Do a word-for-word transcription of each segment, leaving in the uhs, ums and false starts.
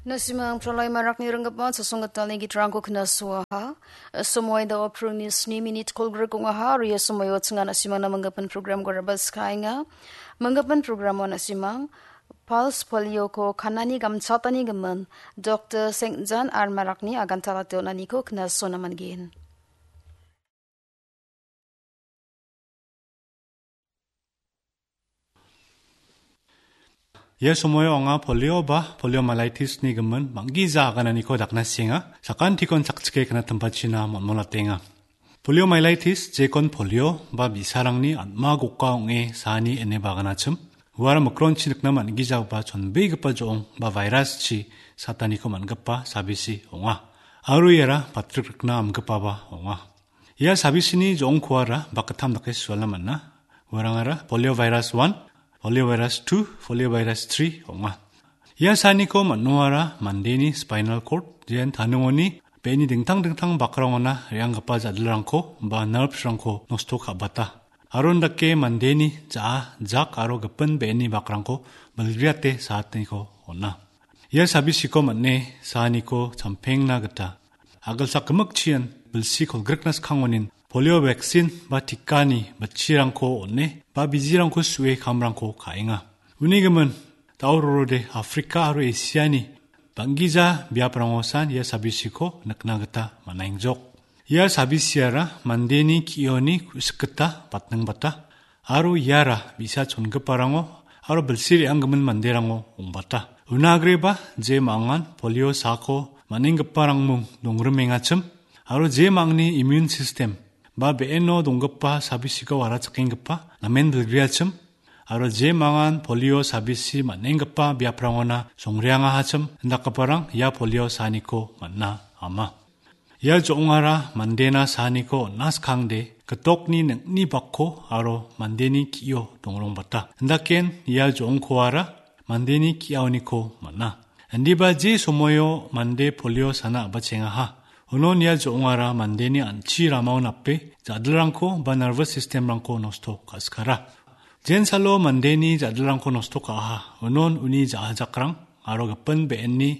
Nasimang pralai marakni ringgipa chasonggitalni gitrangko knasoaha. Somoi da oprungni sni minit kolgrik ong·aha, aro ia somoio chingan nasimangna manggipan programko rabaskaenga. Manggipan programo nasimang Pulse Polioko kanani gamchatani gimin Doktor Seng Jan R Marakni aganta late on·aniko knasona man·gen. Ia somoio anga polio ba poliomyelitis-ni gimin bang·gija agananiko dakna sienga. Sakantikon chakchike knatimbatchina mon·molatenga. Poliomyelitis, jekon polio ba bi·sarangni atma goka ong·e saani ine baganachim. Uara mikronchi nikna man·gijagipa chonbegipa jo·ong ba virus-chi sataniko man·gipa sabisi ong·a. Aro iara patrikrikna amgipaba ong·a. Ia sabisini jo·ongkoara bakgittam dake sualna man·a. Uarangara polio virus one, polio virus two, polio virus three ong·a. Ia saaniko man·oara mandeni spinal cord, jen taningoni be·eni dingtang dingtang bakrangona re·anggipa ja·dilrangko ba nerves-rangko nosto ka·bata. Aro indake mandeni ja·a, jak aro gipin be·eni bakrangko bilgriate saatniko on·a. Ia sabisiko man·e saaniko champengna gita agilsak gimikchian bilsi kolgrikna skang onin polio vaccine ba tikani bitchirangko on·e ba bijirangko su·e kamrangko ka·enga. Uni gimin, daurorode Afrika aro Asiani bang·gija biaprangosan ia sabisiko nikna gita man·engjok. Ia sabisiara mandeni ki·oni ku·sik gita batningbata, aro iara bi·sa chongiparango aro bilsi re·anggimin manderango ong·bata. Una agreba je ma·angan polio saako man·enggiparangmung dongrimengachim, aro je ma·angni immune system ba be·eno donggipa sabisiko warachakenggipa namen bilgriachim, aro je ma·angan polio sabisi man·enggipa biaprangona songreangahachim indakgiparang ia polio saaniko man·a ama. Ia jo·ongara mandena saaniko on·a skangde gitokni ning·ni bakko aro mandeni ki·o dongrongbata. Indaken ia jo·ongkoara mandeni ki·aoniko man·a. Indiba je somoio mande polio sana a·bachengaha. Unon ia jo·ongara mandeni an·chi ramao nape ja·dilrangko ba nervous system-rangko nosto ka·skara. Jensalo mandeni ja·dilrangko nosto ka·aha. Unon uni ja·ajakrang aro gipin be·enni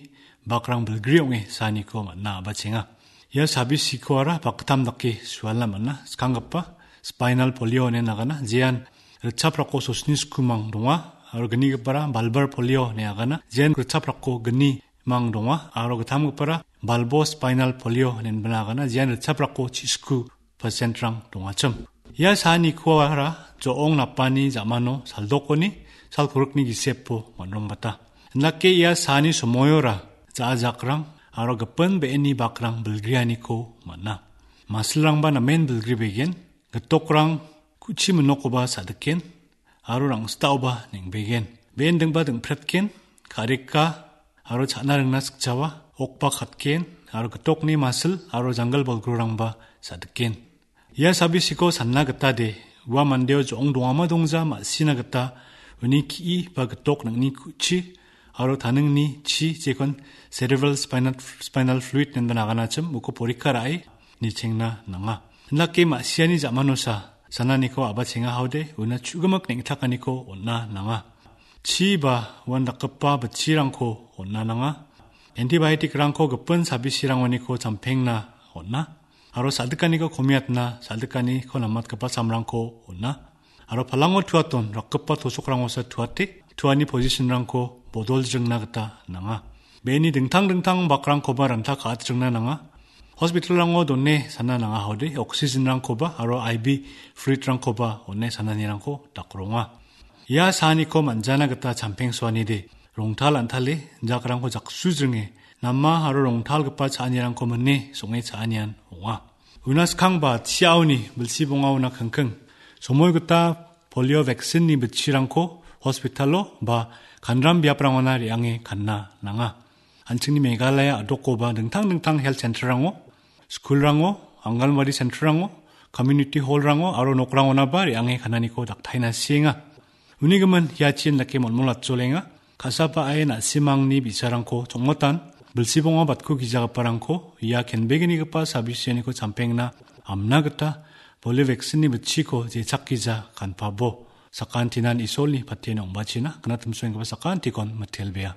bakrang bilgri ong·e saaniko man·a a·bachenga. Ia sabisikoara bakgittam dake sualna man·a. Skanggipa spinal polio ine nagana, jean ritchaprako sosni skumang donga, aro gnigipara bulbar polio ine agana, jean ritchaprako gni mang donga, aro gittamgipara bulbo spinal polio ine nagana, jean ritchaprako chisku percent-rang dongachim. Ia saanikoara jo·ong napani ja·mano saldokoni salkorikni gisepo man·rongbata. Indake ia saani somoiora ja·ajakrang aro gipin be·eni bakrang bilgrianiko man·a. Masilrangba namen bilgribegen, gitokrang ku·chi minokoba sa·diken, aro rangstaoba neng·begen. Be·endingba dingpretken, ka·reka aro cha·na ringna sikjawa, okba katken, aro gitokni masil aro janggil bolgrorangba sa·diken. Ia sabisiko sanna gita de, ua mandeo jo·ong dongama dongja ma·sina gita uni ki·i ba gitok ning·ni ku·chi aro taningni chi jekon cerebral spinal, spinal fluid ine naganachim uko porikka ra·e nichengna nanga. Indake ma·siani ja·manosa sananiko a·bachenga haode una chu·gimik neng·takaniko on·na nanga. Chi ba uandakgipa bitchirangko on·na nanga. Antibiotic-rangko gipin sabisirangoniko champengna on·a. Aro sa·dikaniko komiatna, sa·dikaniko namatgipa samrangko on·a. Aro palango tuaton rakgipa tosokrangosa tuate, tuani position-rangko bodoljringna gita nanga. Be·eni dingtang dingtang bakrangkoba ranta ka·atjringna nanga. Hospital-rango done sana nanga haode, oxygen-rangkoba aro I V fluid-rangkoba one sananirangko dakronga. Ia saaniko man·jana gita champengsoanide, rongtal an·tale, jakrangko jaksujringe, nama aro rongtalgipa cha·anirangko mine song·e cha·anian ong·a. Unaskangba chiaoni bilsi bongaona kingking, somoi gita polio vaccine-ni bitchirangko hospital-o ba kanram biaprangona re·ange kanna nanga. An·chingni Meghalaya a·dokoba dingtang dingtang health center-rango, school-rango, Anganwadi center-rango, community hall-rango aro nokrangonaba re·ange kananiko daktaina sienga. Uni gimin ia chin dake molmol atjolenga. Ka·saba ae na·simangni bi·sarangko chongmotan, bilsibonga batko gijagiparangko ia kenbegnigipa sabisianiko champengna amna gita polio vaccine-ni bitchiko jechakgija kanpabo. Sakantinan Isolni patien ong·bachina, gnatimsoenggipa sakantikon mitelbea.